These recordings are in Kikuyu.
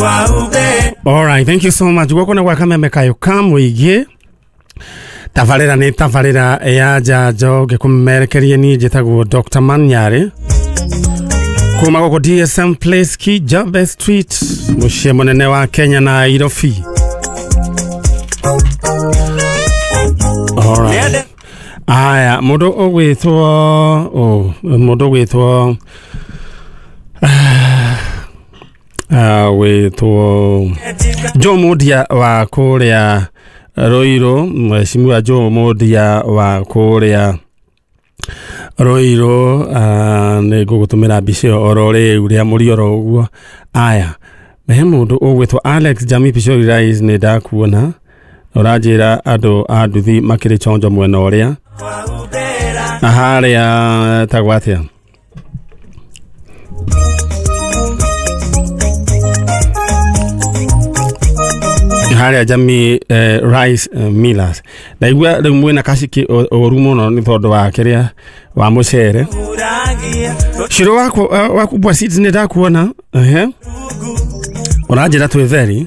Alright, thank you so much. Guoko na gwa kameme kayo ka mũingĩ. Tabarĩra nĩ tabarĩra ya njanjo ngĩkũmerekeria niĩ njĩtagwo Dr. Manyarĩ kuma gũkũ DSM Place Kijabe Street, mũciĩ mũnene wa Kenya Nairobi. Alright. Aya, mũndũ ũgwĩtwo oh, mũndũ ũgwĩtwo wĩtwo Joe Mundia wa kũrĩa Ruiru, mheshimiwa Joe Mundia wa kũrĩa Ruiru, nĩ ngũgũtũmĩra mbica ĩyo oro rĩu rĩa mũri oro ũguo. Aya, he mũndũ ũgwĩtwo Alex Jami Pishori Rais, nĩ ndakuona ũranjĩra andũ a nduthi makĩrĩ chonjo mwena ũrĩa na harĩa tagwo atĩa harĩa Jamii Rice Millers. Ndaigua rĩu mwĩna kaciki ũru mũno nĩ tondũ wa kĩrĩa wa mũcere. Shiro wako wakubwa seeds nĩ ndakuona. Ehe, ũranjĩra twĩ theri.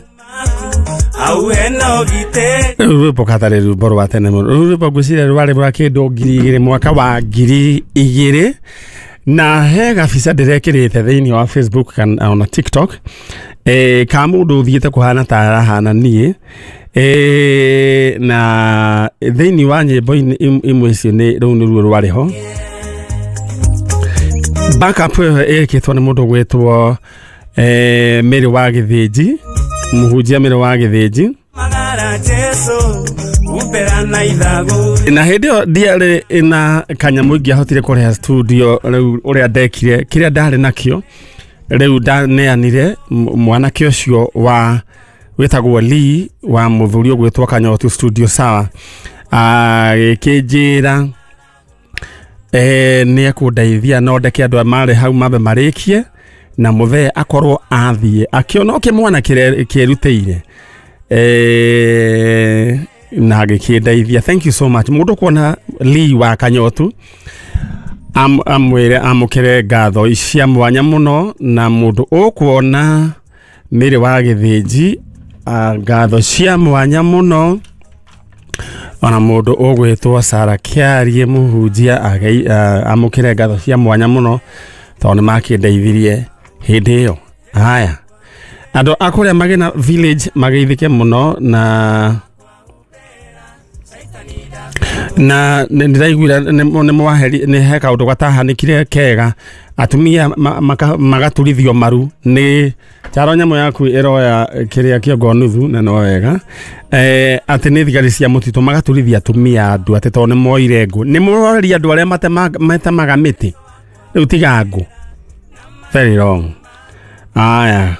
Rĩu rwĩmbo katarĩ rwĩmbo rwa tene mũno. Rũu rwĩmbo ngwĩciria rwarĩ rwa kĩndũ 2000, mwaka wa 2000, na he gabica ndĩrekĩrĩte thĩinĩ wa Facebook kana ona TikTok ka mũndũ ũthiĩte kũhana ta arahana niĩ, na thĩinĩ wa nyĩmbo imwe icio nĩ rũu nĩruo rwarĩ ho. Backup ĩyo ĩkĩtwo nĩ mũndũ ũgwĩtwo Mary wa Gĩthĩnji, mũhunjia Mary wa Gĩthĩnji. Na hĩndĩ ĩyo ndiarĩ na kanyamũ ingĩahotire kũrĩha studio rĩu ũrĩa ndekire kĩrĩa ndarĩ nakĩo rĩu ndaneanire mwanake ũcio wa wĩtagwo Lee wa mũthuri ũgwĩtwo Kanyotu studio sawa, agĩkĩnjĩra nĩ ekũndeithia no ndeke andũ marĩ hau mambe marĩkie na mũthee akorwo athiĩ akĩona o kĩmwana kĩerutĩire, na agĩkĩndeithia. Thank you so much. Mũndũ kuona Lee wa Kanyotu amwĩre amũkĩre ngatho cia mwanya mũno, na mũndũ ũkuona Mary wa Gĩthĩnji ngatho cia mwanya mũno, ona mũndũ ũgwĩtwo Sarah Kĩarie mũhunjia amũkĩre ngatho cia mwanya mũno tondũ nĩ makĩndeithirie hĩndĩ ĩyo. Haya, andũ a kũrĩa Magena Village mageithĩke mũno, na nĩ ndĩraiguire nĩ mwaheri nĩ he kaũndũ gatahanĩkire kega, atumia magaturithio maru nĩ charo nyamũ yaku ĩroya kĩrĩa kĩongo nuthu na no wega, atĩ nĩ thigari cia mũtitũ magaturithia atumia andũ atĩ tondũ nĩ moire ngũ. Nĩ mũroreria andũ arĩa matemaga mĩtĩ rĩu tiga ngũ. Very wrong. Aya,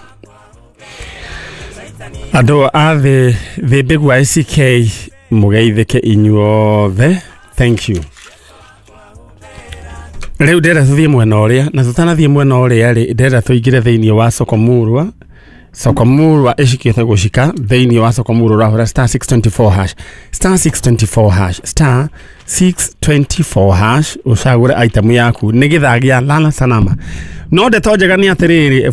andũ a thĩ Mbĩgua ACK mũgeithĩke inyuothe. Thank you. Rĩu ndĩrenda tũthiĩ mwena ũrĩa, na tũtanathiĩ mwena ũrĩa rĩ, ndĩrenda tũingĩre thĩinĩ wa Sokomurwa. Sokomurwa ĩcikĩte gũcika thĩinĩ wa Sokomurwa ũrahũra star 624 hash, star 624 hash, star 624 hash, ũcagũre item yaku nĩ gĩthaa gĩa lala salama. No ndeto njega nĩ atĩrĩrĩ,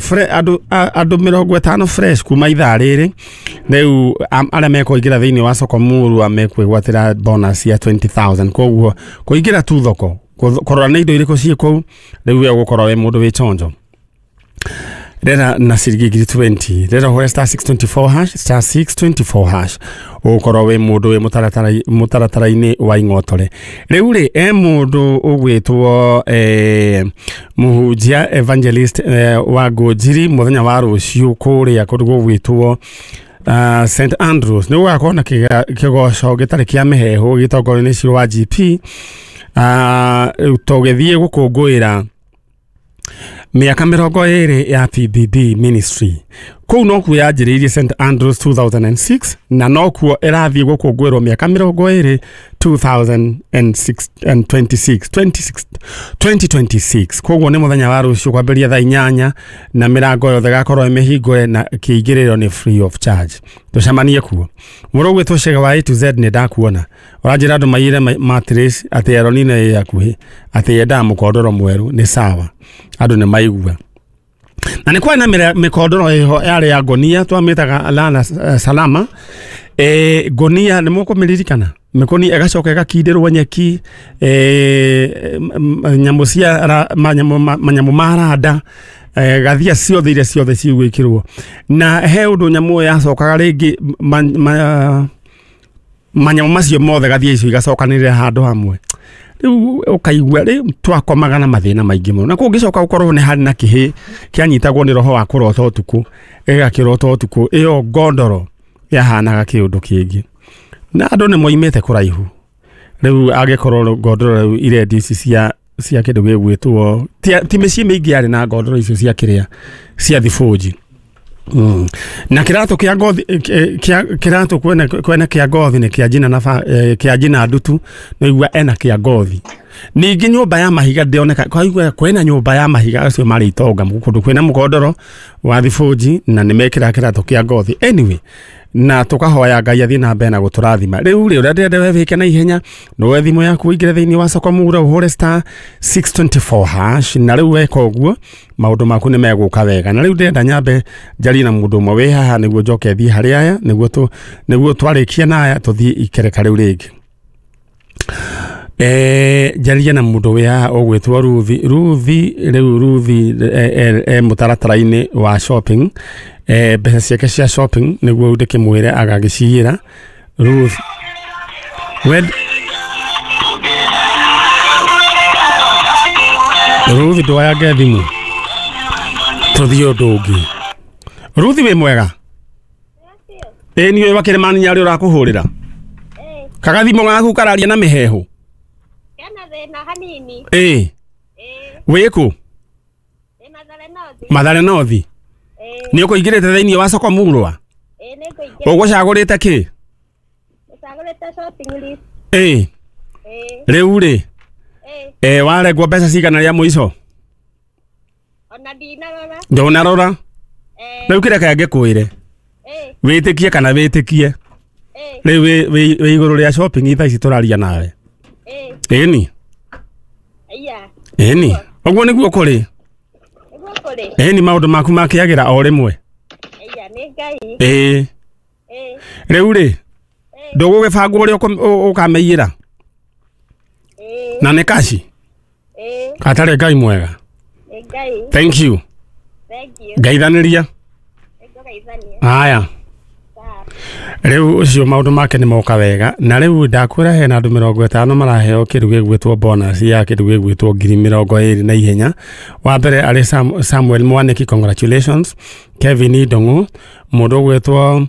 andũ 50 fresh kuma ithaa rĩrĩ rĩu arĩa mekũingĩra thĩinĩ wa Sokomurwa mekwĩgwatĩra bonus ya 20,000. Koguo kũingĩra tu thoko kũrora nĩ indo irĩkũ ciĩ kũu, rĩu we ũgũkorwo wĩ mũndũ wĩ chonjo. Rera na ciringi 20,000, rera ũhũre star 624 hash, star 624 hash, ũgũkorwo wĩ mũndũ wĩ mũtaratara-inĩ wa ing'otore. Rĩu rĩ, e mũndũ ũgwĩtwo mũhunjia evangelist wa Ngũnjiri mũthenya wa rũciũ kũrĩa kũndũ gũgwĩtwo St Andrews nĩ gũgakorwo na kĩgoco gĩtarĩ kĩa mĩheehũ gĩtongorio nĩ Ciro wa GP, tũgĩthiĩ gũkũngũĩra mĩaka 20 ya PBB Ministry. Kũu nokuo yanjĩrĩirie St Andrews 2006, na nokuo ĩrathiĩ gũkũngũĩrwo mĩaka 20 2026. Koguo nĩ mũthenya wa rũciũ kwambĩrĩria thaa 8 na mĩrango yothe ĩgakorwo ĩmĩhingũre na kĩingĩrĩro nĩ free of charge. Tũcemanie kuo. Mũrũ ũgwĩtwo Chege wa A to Z nĩ ndakuona. Ũranjĩra andũ maiyĩre mattress atĩ Eronina ĩ hakuhĩ, atĩ yendaga mũkondoro mwerũ, nĩ sawa. Andũ nĩ maigua. Na nĩ kwarĩ na mĩkondoro ĩho yarĩ ya ngonia twamĩtaga lala salama. Ngonia nĩ mũkũmĩririkana, mĩkoni ĩgacoka ĩgakindĩrwo nyeki, nyamũ cia manyamũ ma randa, gathia ciothe iria ciothe cigwĩkĩrwo. Na he ũndũ nyamũ ĩyo yacokaga rĩngĩ manyamũ macio mothe gathia icio igacokanĩrĩra handũ hamwe. Rĩu ũkaigua rĩu twakomaga na mathĩna maingĩ mũno. Na kũngĩcoka gũkorwo nĩ harĩ na kĩhĩ kĩanyitagwo nĩ roho wa kũrota ũtukũ, gĩgakĩrota ũtukũ, ĩyo ngondoro yahanaga kĩũndũ kĩngĩ. Na andũ nĩ moimĩte kũraihu. Rĩu angĩkorwo ngondoro rĩu irendio ici cia kĩndũ gĩgwĩtwo ti mĩciĩ mĩingĩ yarĩ na ngondoro icio cia kĩrĩa cia thibũnji. Na kĩratũ kĩa ngothi kĩratũ kwene kĩa ngothi nĩ kĩa njina na kĩa njina ndutu no igua ena kĩa ngothi. Ningĩ nyũmba ya mahiga ndĩoneka kwa igua kwena nyũmba ya mahiga acio marĩ itonga kũndũ kwĩna mũkondoro wa thibũnji na nĩ mekĩra kĩratũ kĩa ngothi. Anyway, na tukahoya Ngai athiĩ na mbere na gũtũrathima. Rĩu rĩ ũrĩa ndĩrenda we wĩke na ihenya no thimũ yaku ũingĩre thĩinĩ wa soko mura ũhũre star 624 hash, na rĩu weka ũguo maũndũ maku nĩ megũka wega. Na rĩu ndĩrenda nyambe njarie na mũndũ ũmwe wĩ haha nĩguo njoke thiĩ harĩ aya nĩguo twarĩkia na aya tũthiĩ ikereka rĩu rĩngĩ. Njarie na mũndũ wĩ haha ũgwĩtwo Ruthi. Ruthi rĩu Ruthi mũtaratara-inĩ wa shopping, mbeca ciake cia shopping nĩguo ndĩkĩmwĩre agagĩciyĩra. Ruth Ruth ndwayange thimũ tũthiĩ ũndũ ũngĩ. Ruth wĩ mwega? Ĩĩ niĩ wa Kĩrĩmani nyarĩ ũrakũhũrĩra. Kagathimũ gaku kararia na mĩhehu. Kena thĩna hanini. Ĩĩ. Wĩkũ? Mathare North. Nĩ ũkũingĩrĩte thĩinĩ wa soko murwa? Ĩĩ nĩ ngũingĩrĩte. Ũgũcagũrĩte kĩ? Ũcagũrĩte shopping list. Ĩĩ. Rĩu rĩ? Ĩĩ warengwo mbeca cigana rĩa mũico? Ona ndinarora. Ndũnarora? Rĩu kĩrĩa kangĩkwĩre? Wĩtĩkie kana wĩtĩkie? Rĩu wĩ igũrũ rĩa shopping thaa ici tũraria nawe. Ĩni? Ĩni. Ũguo nĩguo kũrĩ? Ĩni maũndũ maku makĩagĩra o rĩmwe. Ĩĩ. Rĩu rĩ ndũgũgĩbangwo ũrĩa ũkamĩiyĩra? Na nĩ kaci? Gatarĩ Ngai mwega. Thank you. Ngaithanĩria. Aya. Rĩu ũcio maũndũ make nĩ moka wega. Na rĩu ndakwĩra hena andũ 50 maraheo kĩndũ gĩgwĩtwo bonus ya kĩndũ gĩgwĩtwo 20,000 na ihenya. Wa mbere arĩ Samuel Mwaniki, congratulations. Kevin Ndong'u, mũndũ ũgwĩtwo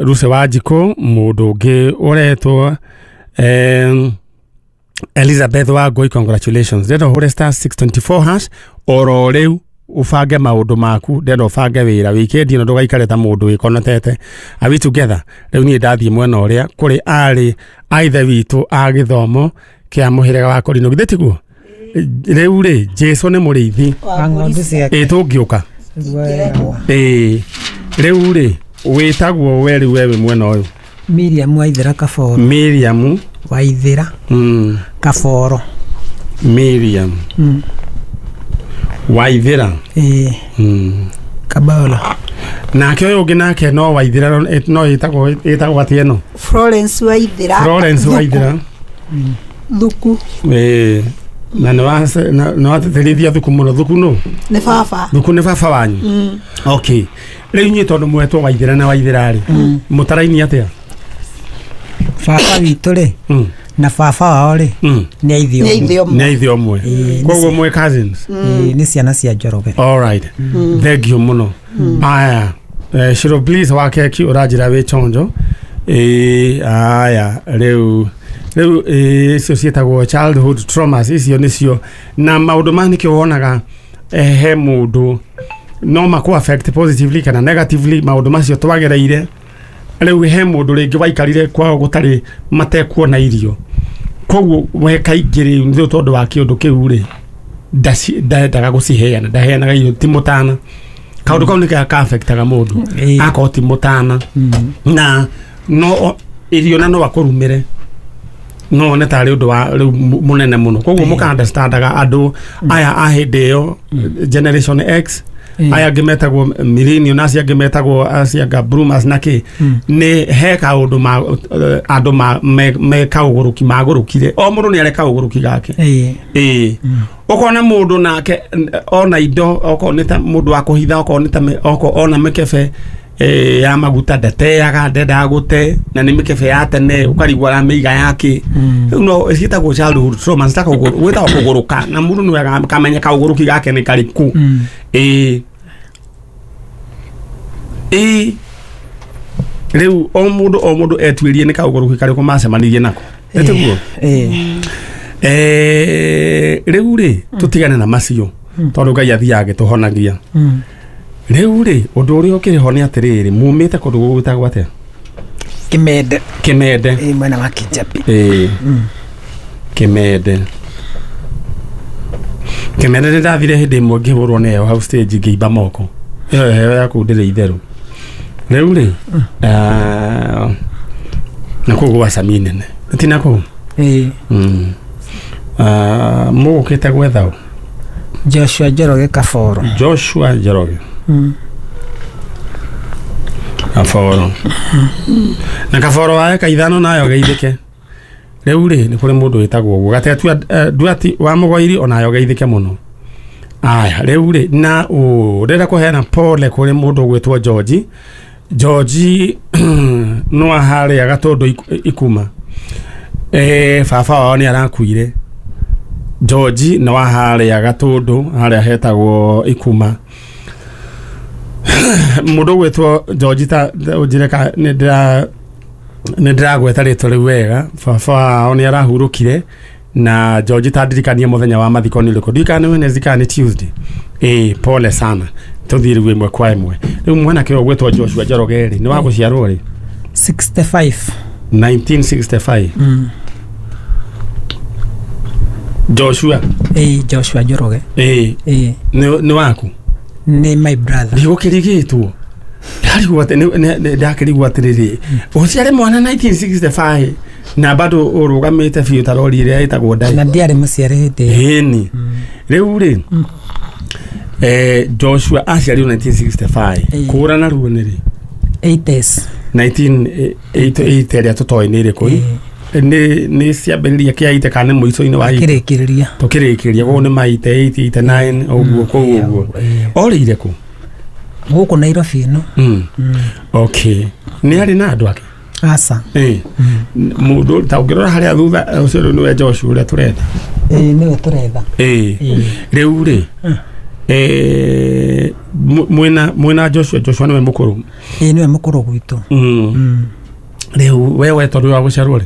Ruse Wanjikũ, mũndũ ũngĩ ũretwo Elizabeth Wangũi, congratulations. Ndĩrenda ũhũre star 624 hash oro rĩu ubange maũndũ maku, ndĩrenda ũbange wĩra wikendi ĩno ndũgaikare ta mũndũ wĩkonotete. Are we together? Rĩu niĩ ndathiĩ mwena ũrĩa kũrĩ arĩ a ithe witũ a gĩthomo kĩa mũhĩrĩga wa Korino, githĩ tiguo? Rĩu rĩ Jesũ nĩ mũrĩithi wa ng'ondu ciake. Ĩĩ tũngĩũka. Ĩĩ rĩu rĩ wĩtagwo we rĩu we wĩ mwena ũyũ? Miriam Waithera Kaboro. Miriam Waithera Kaboro. Miriam Waithera Kaboro. Nake ũyũ ũngĩ nake no Waithera no ĩtagwo atĩa ĩno? Florence Waithera. Florence Waithera. Thuku. Ĩĩ na nĩ watĩtĩrithia thuku mũno. Thuku nũ? Nĩ baba. Thuku nĩ baba wanyu? Okay. Rĩu inyuĩ tondũ mwetwo Waithera na Waithera rĩ, mũtaraini atĩa? Baba witũ rĩ na baba wao rĩ nĩ a ithe ũmwe. Nĩ a ithe ũmwe. Koguo mwĩ cousins? Nĩ ciana cia Njoroge. All right. Thank you mũno. Aya, Shiro Bliss wa keki ũranjĩra wĩ chonjo. Aya, rĩu icio ciĩtagwo childhood traumas, icio nĩcio na maũndũ maya nĩkĩo wonaga he mũndũ no makũ affect positively kana negatively maũndũ macio twagereire. Rĩu he mũndũ rĩngĩ waikarire kwao gũtarĩ matekuona irio, koguo we kaingĩ rĩu nĩ tondũ wa kĩũndũ kĩu rĩ ndendaga gũciheana, ndaheanaga irio ti mũtana. Kaũndũ kau nĩkĩo ka-affectaga mũndũ akorwo ti mũtana na no irio na no akũrumĩre. No one tarĩ ũndũ wa rĩu mũnene mũno. Koguo mũka understandaga andũ aya a hĩndĩ ĩyo, generation X, aya angĩ metagwo millennial na acio angĩ metagwo acio anga bloomers na kĩ, nĩ he kaũndũ ma andũ me kaũgũrũki magũrũkire. O mũndũ nĩ arĩ kaũgũrũki gake. Ĩĩ, ũkona mũndũ nake ona indo, okorwo nĩ ta mũndũ wa kũhitha, okorwo nĩ ta okorwo ona mĩkebe ya maguta ndateaga, ndendaga gũte, na nĩ mĩkebe ya tene, ũkarigwo aramĩiga yake. Rĩu no ciĩtagwo childhood trauma, gwĩtagwo kũgũrũka, na mũndũ nĩwe akamenya kaũgũrũki gake nĩ karĩkũ. Ĩĩ, ĩĩ, rĩu o mũndũ etuĩrie nĩ kaũgũrũki karĩkũ macemanirie nako, ĩtiguo? Rĩu rĩ, tũtigane na macio tondũ Ngai athiaga agĩtũhonagia. Rĩu rĩ, ũndũ ũrĩa ũkĩrĩ ho nĩ atĩrĩrĩ, mumĩte kũndũ gũgwĩtagwo atĩa? Kimende. Kimende. Ĩĩ, mwena wa Kijabi. Ĩĩ, Kimende. Kimende nĩ ndathire hĩndĩ ĩmwe ngĩhũrwo nĩ heho hau stage, ngĩimba moko. Ĩyo heho yaku ndĩrĩ itherũ. Rĩu rĩ, na kũu gwa Sami nene ti na kũu? Ĩĩ. Mũgũkĩte gwetha ũ? Joshua Njoroge Kaboro. Joshua Njoroge Kaboro. Na Kaboro wa eka 5 nayo geithĩke. Rĩu rĩ, nĩ kũrĩ mũndũ wĩtagwo ũguo Gatetua Duati wa Mũgoiri, onayo geithĩke mũno. Aya, rĩu rĩ, na ndĩrenda kũheana pole kũrĩ mũndũ ũgwĩtwo George. George no harĩa Gatũndũ Ikuma. Baba wao nĩ arakuire. George nĩ wa harĩa Gatũndũ, harĩa hetagwo Ikuma. Mũndũ ũgwĩtwo George, ta ũnjĩre ka nĩ ndĩragweta rĩtwa rĩu wega. Baba wao nĩ arahurũkire, na George ta ndirikanie mũthenya wa mathiko nĩ ũrĩkũ. Ndiũĩ kana nĩ Wednesday kana nĩ Tuesday. Ĩĩ, pole sana. Tũthiĩ rĩu ĩmwe kwa ĩmwe. Rĩu mwanake ũyũ ũgwĩtwo Joshua Njoroge rĩ, nĩ wa gũciarwo rĩ? 65. 1965. Joshua. Ĩĩ, Joshua Njoroge. Ĩĩ. Ĩĩ. Nĩ waku? Nĩ my brother. Ndigũkĩrigĩtwo. Ndakĩrigwo atĩrĩrĩ, ũciare mwana 1965 na bado ũrũgamĩte biũ ta rori ĩrĩa ĩtagwo ndai. Na ndiarĩ mũciare hĩndĩ ĩyo. Ĩni. Rĩu rĩ, Joshua aciarirwo 1965. Kũra naruo nĩ rĩ? 80s. 1980 ĩrĩa tũtoĩ nĩ ĩrĩkũ? Nĩ ciambĩrĩria kĩa 80 kana nĩ mũico-inĩ wa 80? Kĩrĩkĩrĩria. Tũkĩrĩkĩrĩria, koguo nĩ ma 88, 89 ũguo, kũu ũguo. Orĩire kũ? Gũkũ Nairobi ĩno. Okay. Nĩ arĩ na andũ ake? Aca. Mũndũ ta ũngĩrora harĩa thutha, ũcio rĩu nĩwe Joshua ũrĩa tũretha. Ĩĩ, nĩwe tũretha. Ĩĩ. Rĩu rĩ, mwĩna Joshua. Joshua nĩwe mũkũrũ? Ĩĩ, nĩwe mũkũrũ gwitũ. Rĩu we tondũ wa gũciarwo rĩ?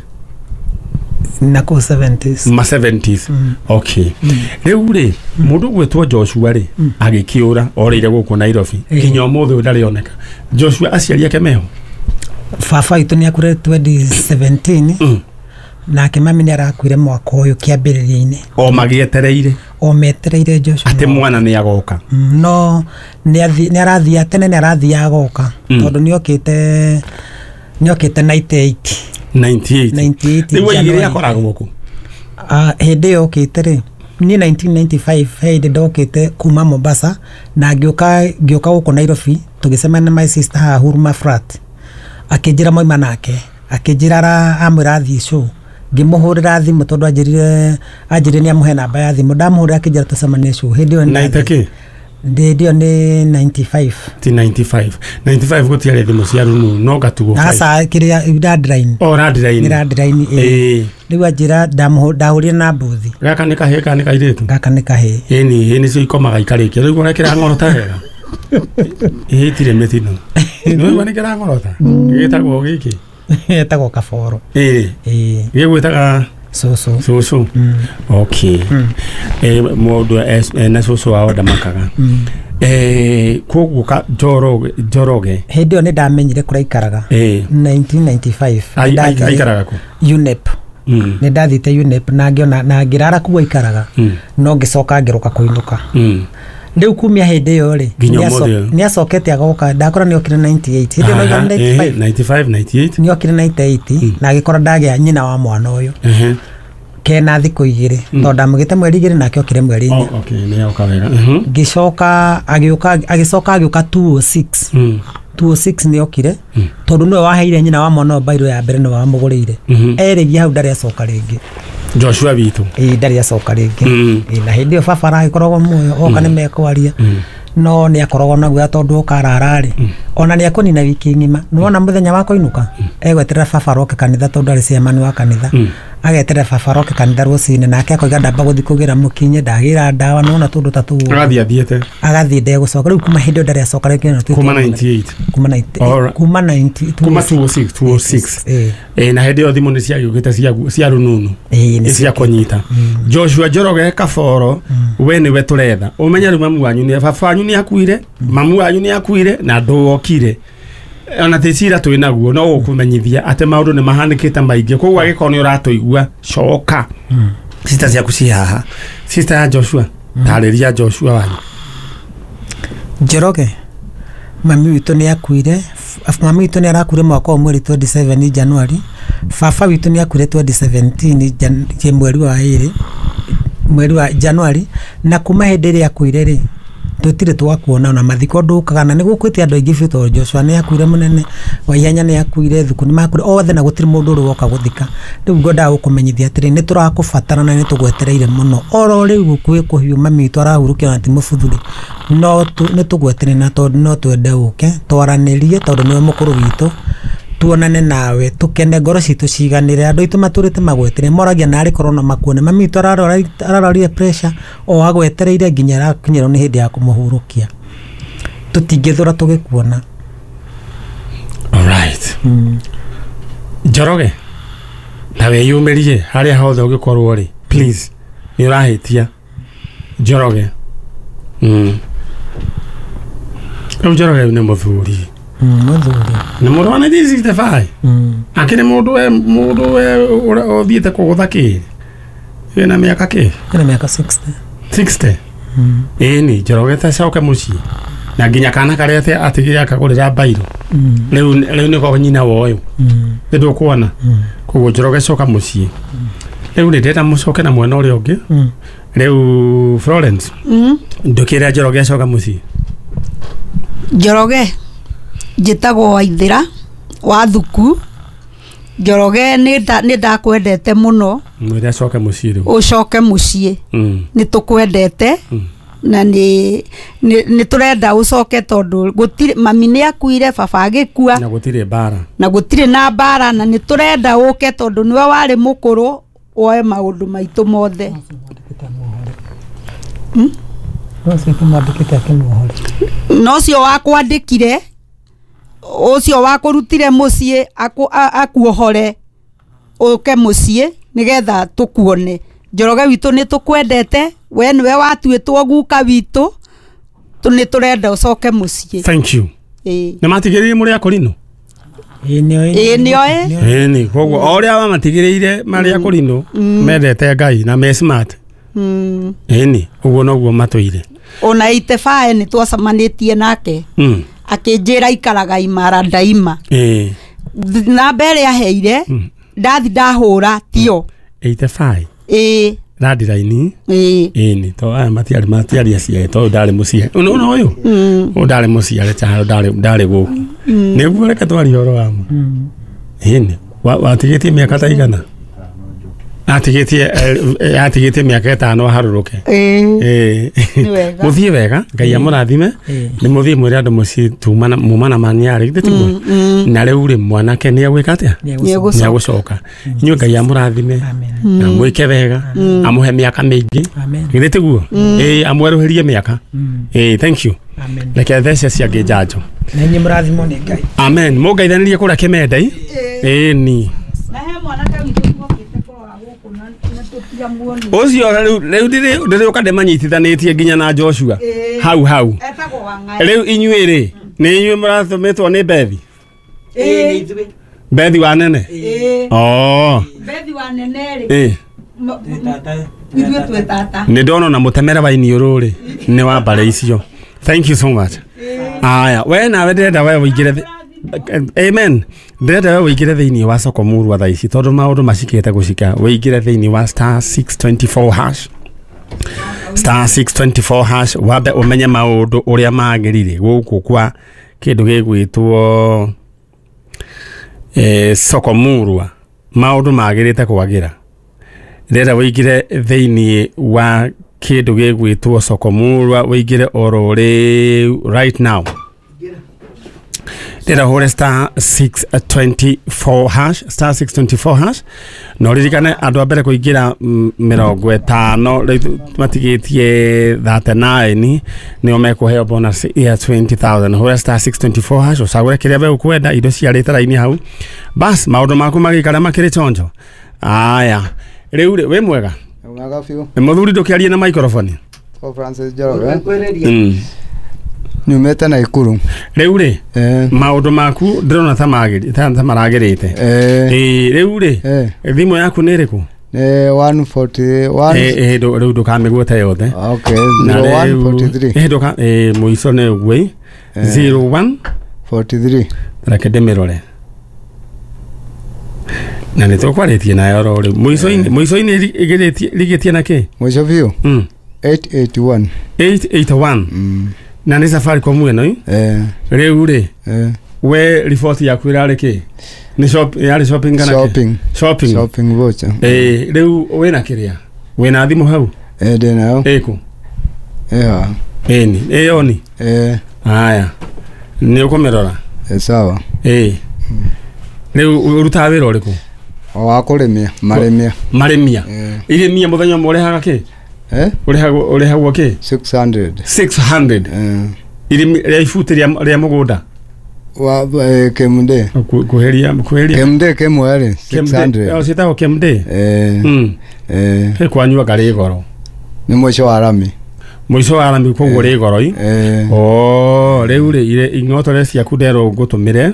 Na kũu 70s. Ma 70s. Okay. Rĩu rĩ, mũndũ ũgwĩtwo Joshua rĩ, agĩkĩũra, orĩire gũkũ Nairobi. Nginya ũmũthĩ ũyũ ndarĩ oneka. Joshua aciari ake meho? Baba witũ nĩ akuire 2017. Nake mami nĩ arakuire mwaka ũyũ kĩambĩrĩria-inĩ. O magĩetereire. O metereire Joshua. Atĩ mwana nĩ agoka. No nĩ arathiaga tene, nĩ arathiaga agoka. Tondũ nĩ okĩte 98. 98. 98. Rĩu aigĩrĩ akoragwo kũ? Hĩndĩ ĩyo okĩte rĩ, niĩ 1995 hĩndĩ ndokĩte kuma Mombasa na ngĩũka gũkũ Nairobi, tũgĩcemania na my sister haha Huruma flat. Akĩnjĩra moima nake, akĩnjĩra amwĩra athiĩ show. Ngĩmũhũrĩra thimũ tondũ anjĩrire nĩ amũhe namba ya thimũ. Ndamũhũrĩra akĩnjĩra tũcemanie show. Hĩndĩ ĩyo Naita kĩ? Hĩndĩ ĩyo nĩ 95. Ti 95. 95 gũtiarĩ thimũ cia rununu, no gatugo. Aca, kĩrĩa landline. O landline. Nĩ landline, ĩĩ. Rĩu anjĩra ndahũrire na mbuthi. Gaka nĩ kahĩĩ kana nĩ kairĩtu? Gaka nĩ kahĩĩ. Ĩni, ĩĩ nĩcio ikomaga ikarĩkia. Rĩu ũrĩa kĩrang'orota wega. Ĩĩ, itirĩ mĩtino. Nĩwaigua nĩ kĩrang'orota? Gĩtagwo gĩkĩ? Gĩtagwo Kaboro. Ĩĩ. Gĩgwĩtaga Cũcũ. Cũcũ. Okay. Mũndũ ena cũcũ wao ndamakaga. Koguo Njoroge. Hĩndĩ ĩyo nĩ ndamenyire kũrĩa aikaraga. 1995. Aikaraga kũ? UNEP. Nĩ ndathiĩte UNEP na ngĩona na ngĩrara kũu aikaraga. No ngĩcoka ngĩroka kũinũka. Rĩu kumia hĩndĩ ĩyo rĩ, Nginya ũmũthĩ ũyũ. nĩ acokete agoka, ndakora nĩ okire 98, hĩndĩ ĩyo Aha, nauga 95. 95 98. Nĩ okire 98 na agĩkora ndagĩa nyina wa mwana ũyũ kena thikũ 2, tondũ ndamũgĩte mweri 2 nake okire mweri 4. Oh, okay, nĩ oka wega. Ngĩcoka agĩũka, agĩcoka agĩũka 206. 206 nĩ okire, tondũ nĩwe waheire nyina wa mwana ũyũ bairũ ya mbere, nĩwe wamũgũrĩire. Erĩgia hau ndarĩ acoka rĩngĩ. Joshua witũ. Ĩĩ, ndarĩ acoka rĩngĩ. Ĩĩ, na hĩndĩ ĩyo baba aragĩkoragwo muoyo, oka nĩ mekwaria, no nĩ akoragwo na guoya tondũ oka arara-rĩ, ona nĩ ekũnina wiki ng'ima. Nĩwona mũthenya wa kũinũka egweterera baba aroke kanitha, tondũ arĩ chairman wa kanitha, ageterera baba aroke kanitha rũcinĩ, nake akoiga ndamba gũthiĩ kũgĩra mũkinye, ndagĩra ndawa, nĩwona tũndũ ta tũu. Agathiĩ athiĩte. Agathiĩ ndegũcoka. Rĩu kuma hĩndĩ ĩyo ndarĩ acoka rĩngĩ na Kuma 98. Kuma 90. Alright. Kuma 90. Kuma 206 206. Ĩĩ. Ĩ, na hĩndĩ ĩyo thimũ nĩ ciagĩũkĩte cia rununu. Ĩĩ, nĩ Nĩ cia kũnyita. Joshua Njoroge Kaboro, we nĩwe tũretha. Ũmenye rĩu mamu wanyu nĩ baba wanyu nĩ akuire, mamu wanyu nĩ akuire na ndũokire. Ona ti cira twĩ naguo, no gũkũmenyithia atĩ maũndũ nĩ mahanĩkĩte maingĩ, koguo angĩkorwo nĩ ũratũigua, coka. Sister ciaku ci haha. Sister ya Joshua, tarĩria Joshua wanyu. Njoroge, mami witũ nĩ akuire, mami witũ nĩ arakuire mwaka wa mweri 27 January. Baba witũ nĩ akuire 2017 mweri wa 2, mweri wa January. Na kuma hĩndĩ ĩrĩa akuire rĩ, tũtirĩ twakuona ona mathiko ndũkaga, na nĩ gũkuĩte andũ aingĩ biũ, tondũ Joshua nĩ akuire, mũnene Waihenya nĩ akuire, Thuku nĩ makuire othe, na gũtirĩ mũndũ ũrĩ woka gũthika. Rĩu ngwendaga gũkũmenyithia atĩrĩ, nĩ tũrakũbatara na nĩ tũgwetereire mũno. Oro rĩu kwĩ kũhiũ, mami witũ arahurũkio na ti mũbuthu-rĩ, no nĩ tũgwetereire, na tondũ no twende ũke twaranĩrie, tondũ nĩwe mũkũrũ witũ, tuonane nawe, tukene, ngoro citũ ciganĩre. Andũ aitũ matũrĩte magwetereire, moragia narĩ korwo no makuone. Mami witũ ararorire pressure o agwetereire nginya arakinyĩrwo nĩ hĩndĩ ya kũmũhurũkia. Tũtingĩthũra tũgĩkuona. Alright. Njoroge, na wĩyumĩrie harĩa hothe ũngĩkorwo rĩ, please, nĩ ũrahĩtia Njoroge. Rĩu Njoroge nĩ mũthuri. Mũthuri. Nĩ mũndũ wa 1965. Akĩrĩ mũndũ we mũndũ we ũthiĩte kũgũtha kĩ wĩna mĩaka kĩ? Ena mĩaka 60. 60. Ĩni Njoroge ta coke mũciĩ, na nginya kana karĩa atigire akagũrĩra bairũ, rĩu nĩko nyina wa ũyũ, nĩ ndũkuona. Koguo Njoroge coka mũciĩ. Rĩu nĩ ndĩrenda mũcoke na mwena ũrĩa ũngĩ. Rĩu Florence, ndũkĩre Njoroge acoka mũciĩ. Njoroge, njĩtagwo Waithĩra wa Thuku. Njoroge, nĩ ndakwendete mũno. Mwĩre acoke mũciĩ rĩu. Ũcoke mũciĩ. Nĩ tũkwendete na nĩ tũrenda ũcoke, tondũ gũtirĩ, mami nĩ akuire, baba agĩkua, na gũtirĩ mbara, na gũtirĩ na mbara, na nĩ tũrenda ũke tondũ nĩwe warĩ mũkũrũ, woe maũndũ maitũ mothe. Na ũcio wakwandĩkire, ũcio wakũrutire mũciĩ, akuohore ũke mũciĩ nĩgetha tũkuone. Njoroge witũ, nĩ tũkwendete, we nĩwe watuĩtwo guka witũ, nĩ tũrenda ũcoke mũciĩ. Thank you. Nĩ matigĩrĩire mũrĩ akũrinũ? Ĩĩ, nĩoĩ. Ĩni, koguo o ũrĩa wamatigĩrĩire marĩ akũrinũ mendete Ngai na me smart. Ĩni, ũguo noguo matũire. Ona 85 nĩ twacemanĩtie nake, akĩnjĩra ikaraga imara ndaima. Namba ĩrĩa aheire ndathi ndahũra tio. 85. Ĩĩ. Landline. Ĩĩ. Ĩni, to aya matiarĩ aciare, tondũ ndarĩ mũciare. Ũno ũyũ ũyũ ndarĩ mũciare, Charo ndarĩ gũkũ. Nĩguo reke twarie ũhoro wa ma. Ĩni, watigĩtie mĩaka ta igana? Atigĩtie mĩaka 5 aharũrũke. Ĩĩ. Mũthiĩ wega, Ngai amũrathime. Nĩ mũthiĩ mwĩre andũ mũciĩ muma na maniarĩ, githĩ tiguo? Na rĩu rĩ, mwanake nĩ egwĩka atĩa? Nĩ egũcoka. Inyuĩ Ngai amũrathime na mwĩke wega, amũhe mĩaka mĩingĩ, githĩ tiguo? Ĩĩ, amwerũhĩrie mĩaka. Ĩĩ, thank you. Reke thece ciangĩ njanjo. Na inyuĩ mũrathimwo nĩ Ngai. Amen. Mũngeithanĩrie kũrĩa Kĩmendai. Ĩĩ ni. Na he mwanake witũ tuokĩte kũrora gũkũ na tũtiamuonire. Ũcio rĩu ndĩrĩũka ndĩmanyitithanĩtie nginya na Joshua. Hau hau. Etagwo Wang'ai. Rĩu inyuĩ rĩ, nĩ inyuĩ mũratũmĩtwo nĩ Bethi? Bethi wa nene? Ĩĩ. Oh. Bethi wa nene rĩ. Ĩĩ. Ithuĩ twĩ tata. Nĩ ndona ona mũtemere wa iniũrũ rĩ nĩ wa mbarĩ icio. Thank you so much. Aya, we nawe ndĩrenda we ũingĩre amen, ndĩrenda we ũingĩre thĩinĩ wa soko murwa thaa ici tondũ maũndũ macikĩte gũcika. Ũingĩre thĩinĩ wa star 624 hash, star 624 hash, wambe ũmenye maũndũ ũrĩa magĩrire gũkũ kwa kĩndũ gĩgwĩtwo soko murwa. Maũndũ magĩrĩte kwagĩra. Ndĩrenda ũingĩre thĩinĩ wa kĩndũ gĩgwĩtwo soko murwa, ũingĩre oro rĩu right now. Ndĩrenda ũhũre star 624 hash, star 624 hash, na ũririkane andũ a mbere kũingĩra 50 rĩu matigĩtie 39 nĩo mekũheo bonus ya 20,000. Hũra star 624 hash ũcagũre kĩrĩa we ũkwenda, indo ciarĩte raini hau, bas maũndũ maku magĩikara makĩrĩ chonjo. Aya, rĩu rĩ, wĩ mwega? Mwega biũ. Nĩ mũthuri ndũkĩarie na microphone. Kwa Francis Njoroge. Nyumĩte Naikuru. Rĩu rĩ, maũndũ maku ndĩrona ta ta maragĩrĩte. Rĩu rĩ, thimũ yaku nĩ ĩrĩkũ? Nĩ 141. Rĩu ndũkamĩgwete yothe. Okay, Na rĩu- 0143. Mũico nĩ ũguo ĩ. 01 43. Reke ndĩmĩrore. Na nĩ tũkwarĩtie nayo oro rĩu. Mũico-inĩ rigĩtie na kĩ? Mũico biũ. 881. 881. Na nĩ Safaricom ĩno ĩ? Rĩu rĩ, we riboti yaku ĩrarĩ kĩ? Nĩ shop, yarĩ shopping kana kĩ? Shopping. Shopping. Shopping voucher. Rĩu wĩna kĩrĩa? Wĩna thimũ hau? Ndĩ nayo. Ĩkũ? Ĩha. Ĩni, ĩyo ni? Haya. Nĩ ũkũmĩrora? Sawa. Rĩu ũrutaga wĩra ũrĩkũ? O wa kũrĩmia, marĩmia. Marĩmia. Irĩmia mũthenya ũmwe ũrĩhaga kĩ? Ũrĩhagwo kĩ? 600. 600. Irĩmi rĩa ibuti rĩa mũgũnda? Wa KMD. Kuheria. KMD kĩmwe rĩ, 600. Ciĩtagwo KMD? Kwanyu anga rĩ goro? Nĩ mũico wa rami. Mũico wa rami koguo rĩ goro i? Oh, rĩu rĩ ing'otore ciaku nderwo ngũtũmĩre.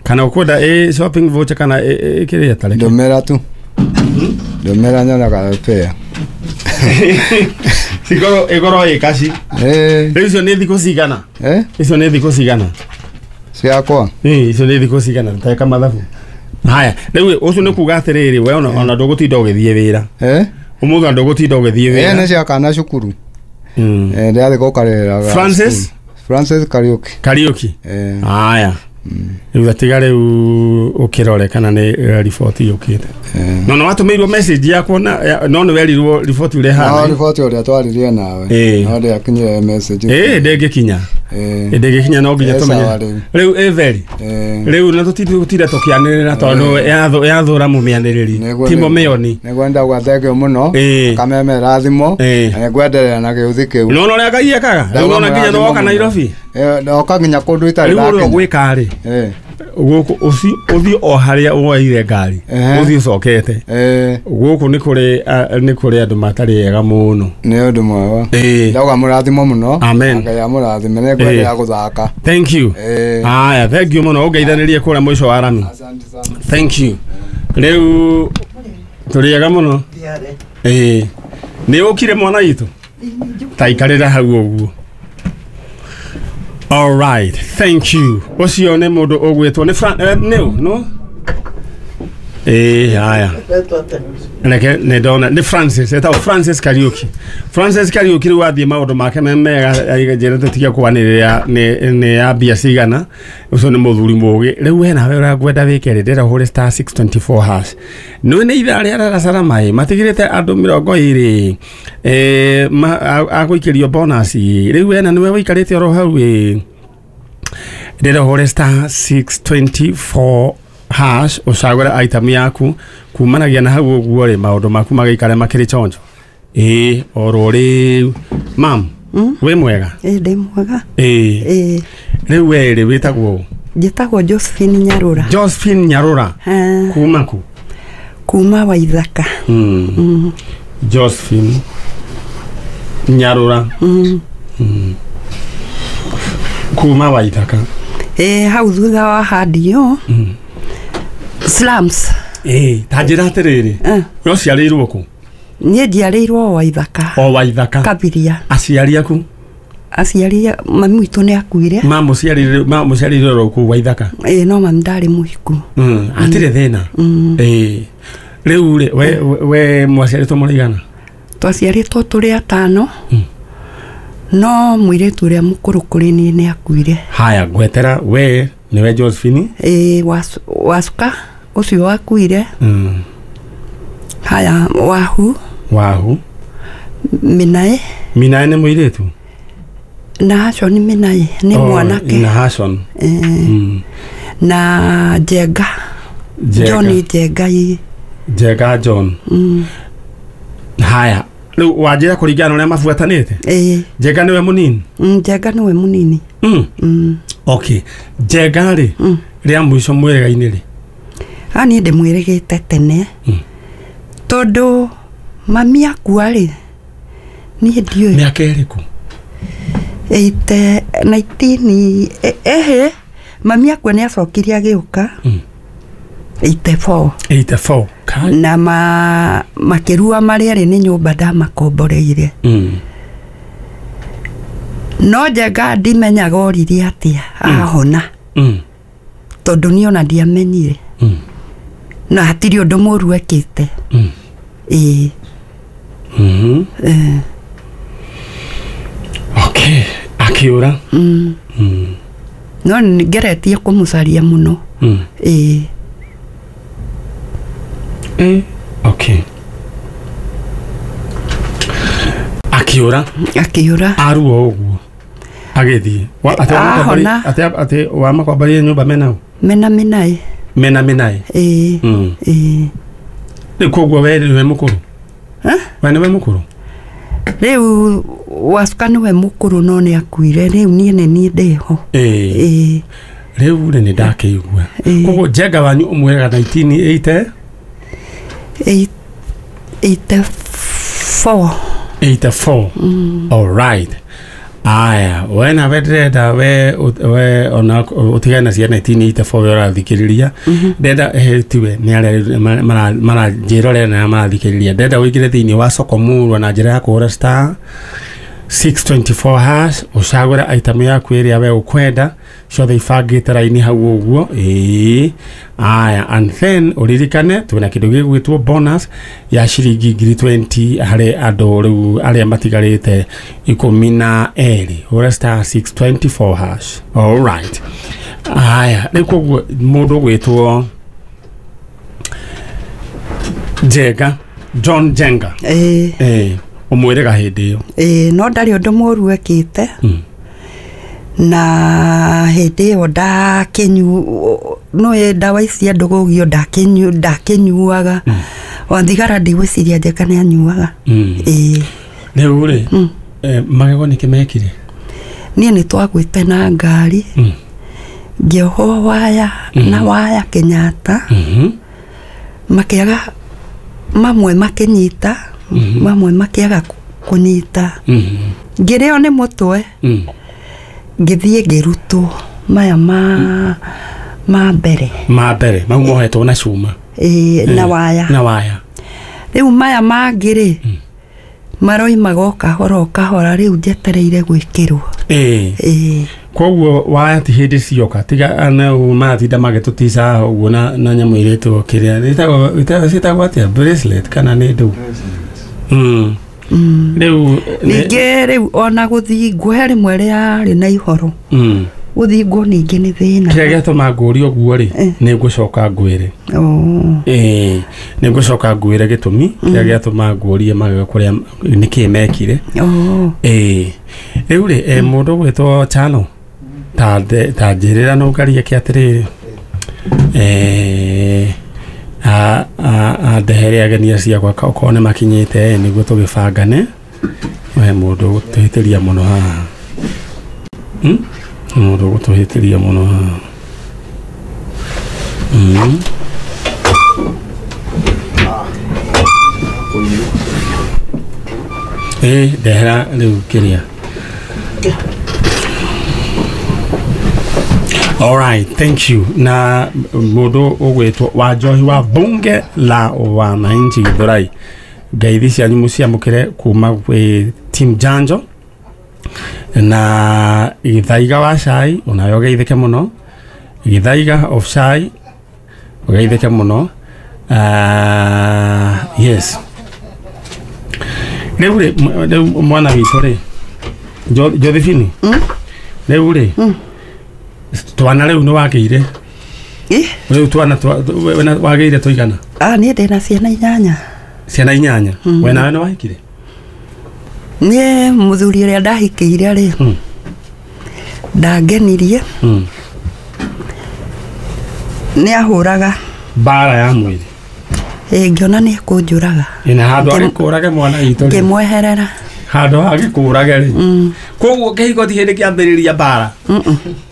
Kana ũkwenda ĩ shopping voucher kana ĩ kĩrĩa tareke? Ndũmĩra tu. Ndũmĩra nyonaga fair. Cikorwo ĩkorwo ĩ kaci. Rĩu icio nĩ thikũ cigana? Icio nĩ thikũ cigana? Ciakwa? Icio nĩ thikũ cigana? Teka mathabu. Haya, rĩu ũcio nĩ kuga atĩrĩrĩ, we ona ndũgũtinda ũgĩthiĩ wĩra. Ũmũthĩ ona ndũgũtinda ũgĩthiĩ wĩra. Nĩ cia kana cukuru. Ndĩrathiĩ gũkarĩrĩra. Francis? Francis Kariuki. Kariuki. Haya. Rĩu atiga rĩu ũkĩrore kana nĩ riboti yũkĩte. No no watũmĩirwo message yakwa na no nĩ werirwo riboti ũrĩa ĩhana. No riboti ũrĩa twaririe nawe. No ndĩakinyire message. Ndĩngĩkinya. Ndĩngĩkinya no nginya tũmenye. Rĩu ĩ very. Rĩu na tũtigũtinda tũkĩanĩrĩra tondũ yathũra mũmĩanĩrĩri. Ti mũmĩoni. Nĩguo ndauga thengio mũno. Kamemera thimũ. Na nĩngwenderea na gĩũthi kĩu. No ũrĩa Ngai ekaga. Rĩu ona nginya nĩwoka Nairobi. Ndoka nginya kũndũ itarĩ Rĩu ũrĩa ndakinya. ũgwĩka rĩ. Gũkũ ũthiĩ o harĩa woeire ngari. Ũthiĩ ũcokete. Gũkũ nĩ kũrĩ andũ matarĩ ega mũno. Nĩ ũndũ mwega. Ndauga mũrathimo mũno. Amen. Ngai amũrathime nĩ ngwenderea gũthaka. Thank you. Haya, thank you mũno. Ũngeithanĩrie kũrĩa mũico wa rami. Thank you. Rĩu tũrĩ ega mũno. Nĩ ũkire mwana witũ? Ta ikarĩra hau ũguo. All right, thank you. Ũcio nĩ mũndũ ũgwĩtwo nĩ nĩ no? Haya. Reke nĩ ndona nĩ Francis, etagwo Francis Kariuki. Francis Kariuki rĩu athiĩ maũndũ make me mega, njĩra tũtige kwanĩrĩra nĩ ya mbia cigana. Ũcio nĩ mũthuri mũũgĩ. Rĩu we nawe ũrĩa ngwenda wĩke rĩ, ndĩrenda ũhũre star 624 hash. Nĩ nĩ ithaa rĩa darasa maĩ matigĩrĩte andũ 20 agũikĩrio bonus. Rĩu we na nĩwe wĩikarĩte oro hau ĩ. Ndĩrenda ũhũre star 624 hash ũcagũre item yaku kumanagia na hau ũguo rĩ, maũndũ maku magĩikare makĩrĩ chonjo. Oro rĩu. Mam, wĩ mwega? Ndĩ mwega. Rĩu we rĩ wĩtagwo? Njĩtagwo Josephine Nyarũra. Josephine Nyarũra. Kuma ku? Kuma Waithaka. Josephine Nyarũra. Kuma Waithaka. Hau thutha wa handio. Slums. Ta njĩra atĩrĩrĩ, we ũciarĩirwo kũ? Niĩ njiarĩirwo Waithaka. O Waithaka. Kabiria. Aciari aku? Aciari mami witũ nĩ akuire. Mamũciarĩire oro kũu Waithaka? Ĩĩ, no mami ndarĩ mũhiku. Hatirĩ thĩna. Ĩĩ. Rĩu rĩ, we mwaciarĩtwo mũrĩ igana? Twaciarĩtwo tũrĩ atano. No mũirĩtu ũrĩa mũkũrũ kũrĩ niĩ nĩ akuire. Haya, ngwetera we nĩwe Josephine? Ĩĩ, Wacuka ũcio wakuire. Haya, Wahu. Wahu. Minae. Minae nĩ mũirĩtu? Na Hashon Minae nĩ mwanake. Na Hashon. Na Njenga. John Njenga. Njenga John. Haya, rĩu wanjĩra kũringana na ũrĩa mabuatanĩte? Ĩĩ. Njenga nĩwe mũnini? Njenga nĩwe mũnini. Okay. Njenga rĩ, rĩa mũico mwĩrĩga-inĩ rĩ? Niĩ ndĩmwĩrĩgĩte tene. Tondũ mami akua rĩ, niĩ ndiũĩ. Mĩaka ĩrĩkũ? 19 ehe, mami akua nĩ acokire agĩũka. 84. 84. Na makĩrua marĩa erĩ nĩ nyũmba ndamakomboreire. No Njenga ndimenyaga oririe atĩa ahona. Tondũ niĩ ona ndiamenyire. Na hatirĩ ũndũ mũru ekĩte. Ĩĩ. Okay, akĩũra. No ngeretie kũmũcaria mũno. Ĩĩ. Okay. Akĩũra. Akĩũra. Aruo ũguo. Agĩthiĩ. Ahona. Atĩ wamakomborire nyũmba mena ũ? Mena Minae. Mena Minae. Ĩĩ. Ĩĩ. Rĩu koguo we nĩwe mũkũrũ? We nĩwe mũkũrũ? Rĩu Wacuka nĩwe mũkũrũ no nĩ akuire. Rĩu niĩ nĩ niĩ ndĩho. Ĩĩ. Rĩu rĩ nĩ ndakĩigua. Koguo Njenga wanyu ũmwĩraga 1980? 84. 84. All right. Aya, we nawe ndĩrenda we ona ũtigane na cia 1984 we ũrathikĩrĩria. Ndĩrenda tiwe nĩ arĩa maranjĩrorera na marathikĩrĩria. Ndĩrenda ũingĩre thĩinĩ wa Soko Murwa na njĩra ya kũhũra star 624 hash ũcagũre item yaku ĩrĩa we ũkwenda ciothe ibangĩte raini hau ũguo. Ĩĩ. Aya, and then ũririkane twĩna kĩndũ gĩgwĩtwo bonus ya ciringi 20,000 harĩ andũ rĩu arĩa matigarĩte 12. Hũra star 624 hash. All right. Aya, rĩu koguo mũndũ ũgwĩtwo Njenga, John Njenga. Ĩĩ. Ĩĩ. Ũmwĩrĩga hĩndĩ ĩyo. Ĩĩ, no ndarĩ ũndũ mũru ekĩte. Na hĩndĩ ĩyo no ndawa ici andũ gũgio ndakĩnyuaga. O thigara ndigwĩciria Njenga nĩ anyuaga. Ĩĩ. Rĩu rĩ, magego nĩkĩ mekire? Niĩ nĩ twagwĩte na ngari. Ngĩohwo waya na waya Kenyatta. Makĩaga mamwe makĩnyita, mamwe makĩaga kũnyita. Ngĩrĩo nĩ mũtwe. Ngĩthiĩ ngĩrutwo maya ma mbere. Ma mbere, mau mohetwo na cuma. Ĩĩ, na waya. Na waya. Rĩu maya mangĩ rĩ, maroimaga o kahora o kahora, rĩu njetereire gwĩkĩrwo. Ĩĩ. Ĩĩ. Koguo waya ti hĩndĩ cioka tiga maratinda magĩtũtica ũguo na nyamũ ĩrĩtwo kĩrĩa ĩtagwo atĩa, bracelet kana nĩ ndũ? Rĩu ningĩ rĩu ona gũthingwo he rĩmwe rĩarĩ na ihoro. Gũthingwo ningĩ nĩ thĩna. Kĩrĩa gĩatũma ngũrie ũguo rĩ, nĩ ngũcoka ngwĩre. Ĩĩ, nĩ ngũcoka ngwĩre gĩtũmi kĩrĩa gĩatũma ngũrie magego kũrĩa nĩkĩĩ mekire. Ĩĩ. Rĩu rĩ, mũndũ ũgwĩtwo Chano, ta njĩrĩra no ngarie kĩ atĩrĩrĩ. Andehere ageni acio akwa okorwo nĩ makinyĩte nĩguo tũgĩbangane. We mũndũ ũgũtũhĩtĩria mũno haha. Mũndũ ũgũtũhĩtĩria mũno haha. Ndehera rĩu kĩrĩa. All right, thank you. Na mũndũ ũgwĩtwo Wanjohi wa Bunge la Wananchi Githurai. Ngeithi cianyu muciamukire kuma gwĩ team Janjo na Githaiga wa cai onawe ũgeithĩke mũno. Githaiga of cai ũgeithĩke mũno. Yes, rĩu rĩ rĩu mwana witũ rĩ Josephine, rĩu rĩ twana rĩu nĩ wakĩire? Rĩu twana wagĩire tũigana? Niĩ ndĩna ciana 8. Ciana 8? We nawe nĩ wahikire? Niĩ mũthuri ũrĩa ndahikĩire rĩ ndangenirie. Nĩ ahũraga mbara ya mwĩrĩ. Ngĩona nĩ ekũnjũraga. Ĩna handũ agĩkũrage mwana witũ rĩ. Ngĩmweherera. Handũ agĩkũrage rĩ. Koguo kĩhiko ti hĩndĩ kĩambĩrĩria mbara.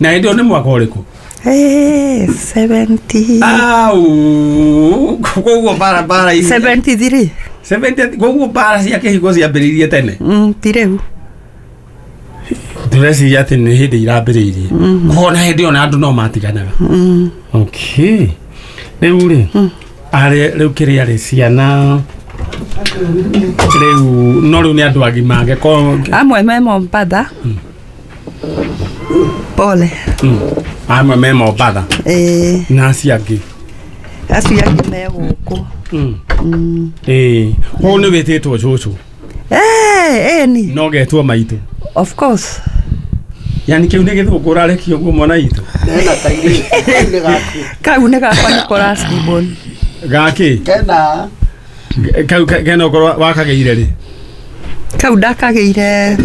Na hĩndĩ ĩyo nĩ mwaka ũrĩkũ? 70. Au, koguo mbara 73. 70. Koguo mbara cia kĩhiko ciambĩrĩirie tene? Ti rĩu. Ndĩreciria atĩ nĩ hĩndĩ irambĩrĩirie. Koguo na hĩndĩ ĩyo na andũ no matiganaga. Okay. Rĩu rĩ arĩ rĩu kĩrĩa rĩ ciana rĩu no rĩu nĩ andũ agima angĩkorwo amwe me Mombatha. Pole. Amwe me Mombatha. Na acio angĩ? Acio angĩ me gũkũ. Koguo nĩ wĩtĩtwo cũcũ? Ni. No getwo maitũ? Of course. Yani kĩu nĩ gĩthũngũ ũrarekia ũguo mwana witũ? Kau nĩ gakwa nĩ kũracibon. Gakĩ? Kena. Kau kena ũkorwo wakagĩire rĩ? Kau ndakagĩire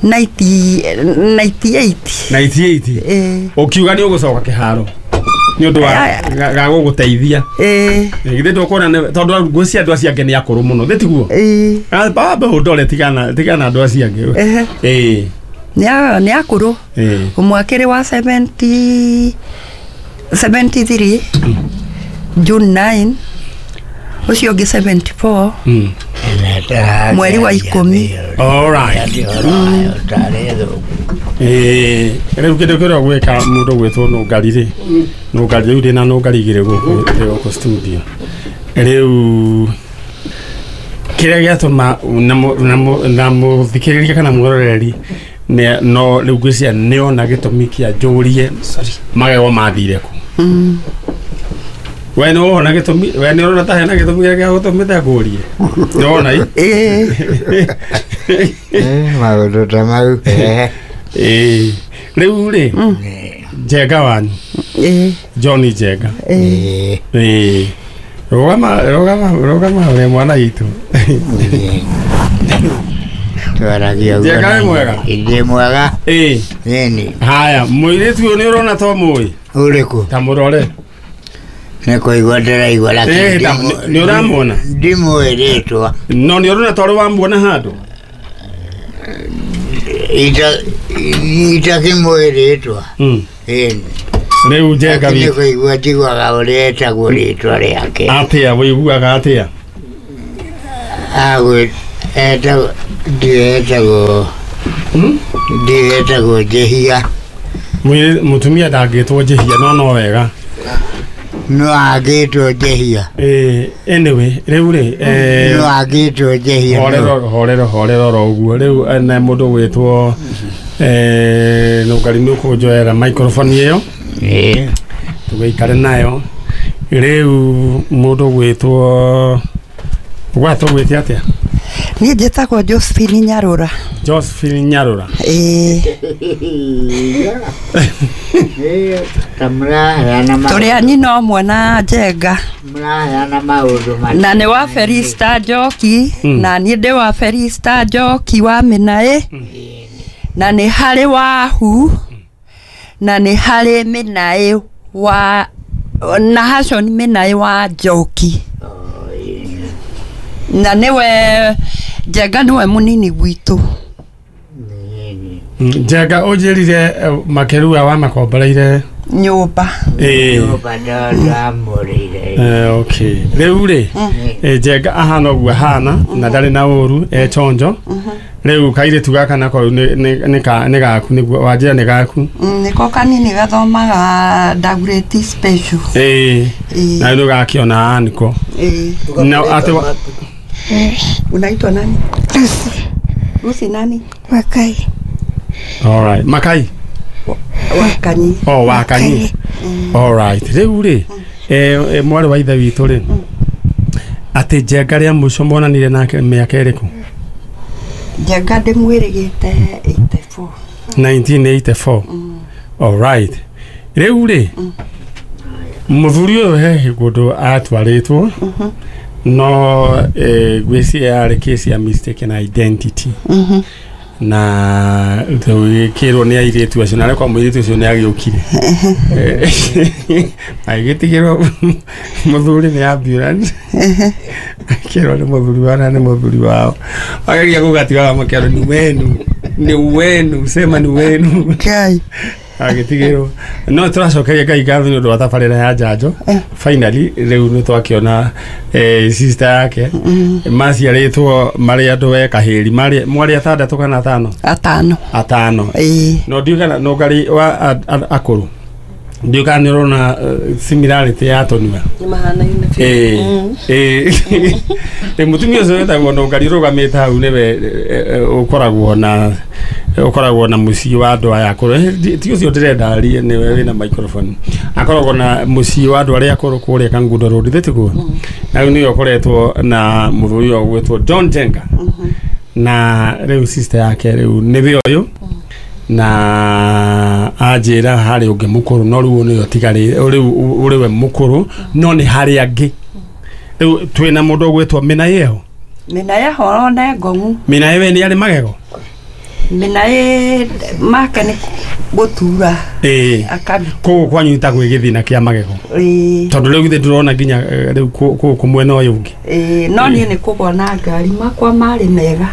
98. 98? Ũkiuga nĩ ũgũcoka kĩharo nĩ ũndũ wa ga gũgũteithia. Githĩ ndũkuona tondũ ngwĩciria andũ acio angĩ nĩ akũrũ mũno, thĩ tiguo? Baba ũndore tigana andũ acio angĩ. Nĩ akũrũ. Ũmwe akĩrĩ wa 73 June 9, ũcio ũngĩ 74 mweri wa 10. All right. Rĩu kĩndũ kĩrĩa gwĩka mũndũ gwĩtwo Nũngari rĩ, Nũngari rĩu ndĩna Nũngari igĩrĩ gũkũ studio. Rĩu kĩrĩa gĩatũma na mũthikĩrĩria kana mwĩroreri no rĩu ngwĩciria nĩona gĩtũmi kĩa njũrie magego mathire kũ. We nĩ wona gĩtũmi, we nĩ ũrona ta hena gĩtũmi gĩa gũtũmĩte ngũrie? Nĩ wona i? Maũndũ ta mau. Rĩu rĩ Njenga wanyu. Johnny Njenga. Rũgama ũrĩa mwana witũ. Twaragia ũguo. Njenga wĩ mwega? Ndĩ mwega. Nini. Haya, mũirĩtu ũyũ nĩ ũrona to mũĩ? Ũrĩkũ? Ta mũrore. Nĩ kũigua ndĩraigua lakini nĩ ũramuona? Ndimũĩ rĩtwa. No nĩ ũrona twarĩ wamuona handũ? Itakĩmũĩ rĩtwa. Rĩu Njenga witũ. Nĩ kũigua njiguaga ũrĩa etagwo rĩtwa rĩake. Atĩa wĩiguaga atĩa? Ndietagwo Njĩhia. Mũtumia ndangĩtwo Njĩhia no wega. No angĩtwo Njĩhia. Anyway, rĩu rĩ no angĩtwo Njĩhia. Horero oro ũguo. Rĩu na mũndũ gwĩtwo Nũngari nĩ ũkũnjoera microphone ĩyo. Tũgĩikare nayo. Rĩu mũndũ gwĩtwo gwatwo gwĩte atĩa? Niĩ njĩtagwo Josephine Nyarũra. Josephine Nyarũra. Tũrĩ a nyina ũmwe na Njenga. Mũraheana maũndũ maingĩ. Na nĩ wa Felista Njoki, na niĩ ndĩ wa Felista Njoki wa Mĩnaĩ. Na nĩ harĩ Wahu, na nĩ harĩ Mĩnaĩ wa na Hashon Mĩnaĩ wa Njoki. Na nĩwe Njenga nĩwe mũnini gwitũ. Njenga ũnjĩrire Makerua wa makomboreire nyũmba. Nyũmba ndamũrĩire. Okay. Rĩu rĩ Njenga ahana ũguo ahana na ndarĩ na ũru e chonjo. Rĩu kairĩtu gaka nako nĩ gaku nĩguo wanjĩra nĩ gaku. Nĩko kanini gathomaga ndagurĩti special. Na rĩu gakĩona aniko. Na atĩ Unaitwa nani? Lucy. Lucy nani? Makai. All right. Makai. Wakanyi. Oh, Wakanyi. All right. Rĩu rĩ, mwarĩ wa ithe witũ rĩ, atĩ Njenga rĩa mũico monanire nake mĩaka ĩrĩkũ? Njenga ndĩmwĩrĩgĩte 84. 1984. All right. Rĩu rĩ, mũthuri ũyũ he kũndũ atwarĩtwo no ngwĩciria yarĩ case ya mistaken identity. Na tũgĩkĩrwo nĩ airĩtu acio na kwa mũirĩtu ũcio nĩ agĩũkire agĩtigĩrwo mũthuri nĩ ambulance akĩrwo nĩ mũthuri wao na nĩ mũthuri wao ageria gũgatigaga makĩrwo ni wenu ni wenu sema ni wenu Ngai agĩtigĩrwo no tũracokeria Ngai ngatho nĩ ũndũ wa tabarĩra ya njanjo finally rĩu nĩ twakĩona sister yake maciarĩtwo marĩ andũ we kahĩri marĩ mwarĩ atandatũ kana atano atano no ndiũ kana no ngari wa akũrũ ndiũ kana nĩ ũrona similarity ya tũnua nĩ mahanaine mũtumia ũcio wĩtagwo Nũngari ũrũgamĩte hau nĩwe ũkoragwo na mũciĩ wa andũ aya akũrũ ti ũcio ndĩrenda arie nĩwe wĩna microphone akoragwo na mũciĩ wa andũ arĩa akũrũ kũrĩa Kangundo Road thĩtiguo na rĩu nĩwe ũkoretwo na mũthuri ũyũ ũgwĩtwo John Njenga na rĩu sister yake rĩu nĩwe ũyũ na anjĩra harĩ ũngĩ mũkũrũ no rĩu nĩwe ũtigarĩte rĩu ũrĩ we mũkũrũ no nĩ harĩ angĩ rĩu twĩna mũndũ ũgwĩtwo Minayeho Minayeho nĩ ngong'u Minayewe nĩ arĩ magego Minaye make nĩ gũtura kũu kwanyu ta gwĩ gĩthina kĩa magego tondũ rĩu githĩ ndũrona nginya rĩu kũu mwena ũyũ ũngĩ no niĩ nĩ kũgwa na ngari makwa marĩ mega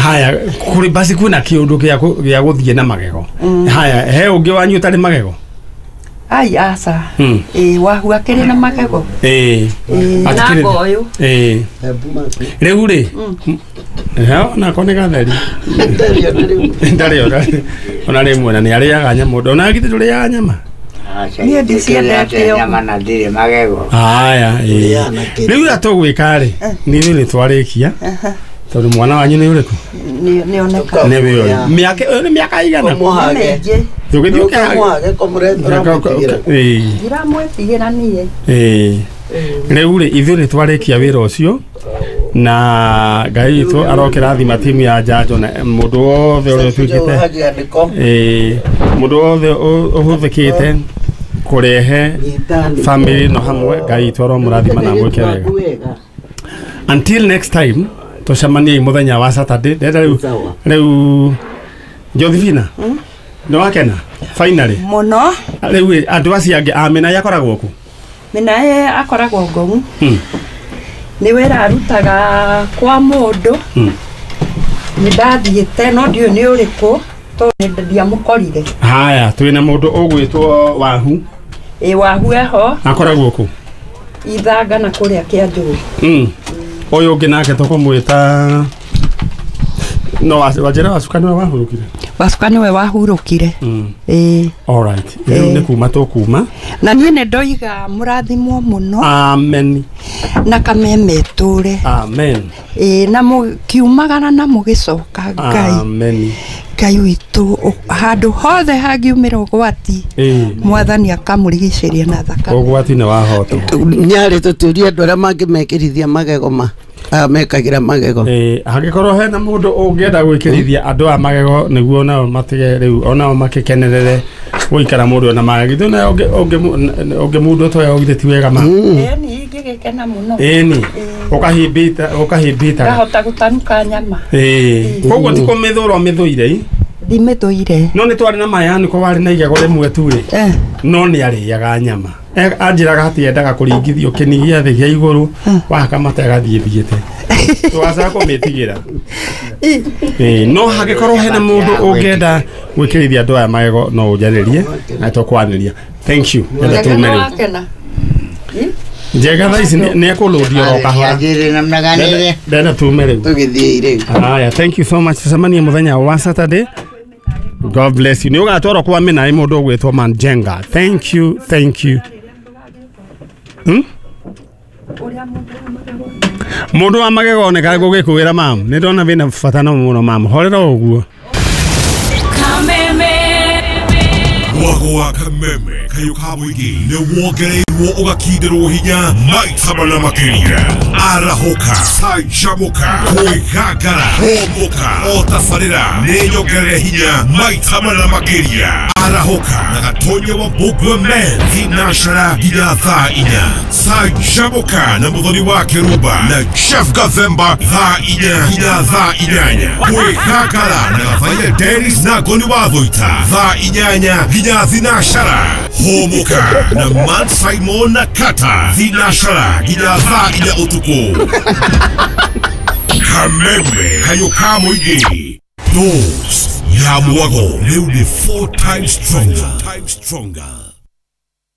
haya kũrĩ basi kwĩna kĩũndũ gĩa gũthiĩ na magego haya he ũngĩ wanyu ũtarĩ magego ai aca wahu akĩrĩ na magego na ngoyũ rĩu rĩ nako nĩ gatheri ndarĩ ona rĩmwe na nĩ arĩaga nyama ona githĩ ndũrĩaga nyama niĩ ndiciendete nyama na ndirĩ magego haya rĩu ũrĩa tũgwĩka rĩ nĩ ithuĩ nĩ twarĩkia tondũ mwana wanyu nĩ ũrĩkũ nĩ oneka nĩwe ũyũ mĩaka ũyũ nĩ mĩaka igana tũgĩthiĩ ndiramwĩtigĩra niĩ rĩu rĩ ithuĩ nĩ twarĩkia wĩra ũcio na Ngai witũ arokĩrathima timu ya njanjo na mũndũ wothe ũrĩa ũtuĩkĩte mũndũ wothe ũhũthĩkĩte kũrehe family no hamwe Ngai witũ aromũrathima na amwĩke wega until next time tũcemanie mũthenya wa Saturday ndenda rĩu rĩu Josephina nĩ wakena finally mũno rĩu andũ acio angĩ a Minaye akoragwo kũ Minaye akoragwo Ngong'u nĩ wĩra arutaga kwa mũndũ nĩ ndathiĩte no ndiũĩ nĩ ũrĩkũ tondũ ndiamũkorire haya twĩna mũndũ ũgwĩtwo Wahu Wahu eho akoragwo kũ Ithanga na kũrĩa Kĩanjũĩ ũyũ ũngĩ nake tũkũmwĩta no wanjĩra Wacuka nĩwe wahurũkire Wacuka nĩwe wahurũkire all right rĩu nĩ kuma tũkuma na niĩ nĩ ndoiga mũrathimwo mũno amen na kameme tũre amen na mũkiumagara na mũgĩcoka Ngai amen Ngai witũ handũ hothe hangiumĩra ũgwati mwathani akamũrigicĩria na thakame ũgwati nĩ wahotwo nyarĩ tũtũrie andũ arĩa mangĩmekĩrithia magego ma mekagĩra magego hangĩkorwo hena mũndũ ũngĩenda gwĩkĩrithia andũ a magego nĩguo nao matige rĩu onao makĩkenerere gũikara mũndũ ona magego githĩ ũngĩ mũndũ ũtoya githĩ ti wega ma ĩni ingĩgĩkena mũno ĩni ũkahimbita ngahota gũtanuka nyama koguo ti kũmĩthũra ũmĩthũire ndimĩthũire no nĩ twarĩ na mayani ko warĩ na igego rĩmwe tu rĩ no nĩ arĩaga nyama anjĩraga atĩ endaga kũringithio kĩni gĩa thĩ gĩa igũrũ wahaka mata agathiĩ thiĩte twacaga kũmĩtigĩra no hangĩkorwo hena mũndũ ũngĩenda gwĩkĩrithia andũ aya magego no ũnjarĩrie na tũkwanĩria thank you enda tume rĩu Njega thaa ici nĩ ekũlũndio oro kahora ndenda tume rĩu tũgĩthiĩ rĩu haya thank you so much tũcemanie mũthenya wa Saturday God bless you. Nĩ ũgatwarwo kwa Minaye mũndũ ũgwĩtwo Manjenga. Thank you, thank you. Mundu wa magego oneka gũgĩkũĩra mam nĩ ndona wĩna bata no mũno mam horera ũguo. Mwago wa kameme kayo ka mũingĩ nĩ wongereirwo ũgakindĩrwo hinya maita mana makĩria. Arahũka, canjamũka, kwĩgangara, hũmũka, o tabarĩra nĩ nyongerere hinya maita mana makĩria. Arahũka na Gatonya wa Mbũngua Men thinacara nginya thaa 4. Canjamũka na Mũthoni wa Kĩrumba na Jeff Gathemba thaa 4 nginya thaa 8. Kwĩgangara na Gathaiya Dennis na Ngoni wa Thũita thaa 8 nginya thinacara. Hũmũka na Man Simon na Kata thinacara nginya thaa 4 ũtukũ. Kameme kayo ka mũingĩ. Dose ya mwago rĩu nĩ 4 times stronger.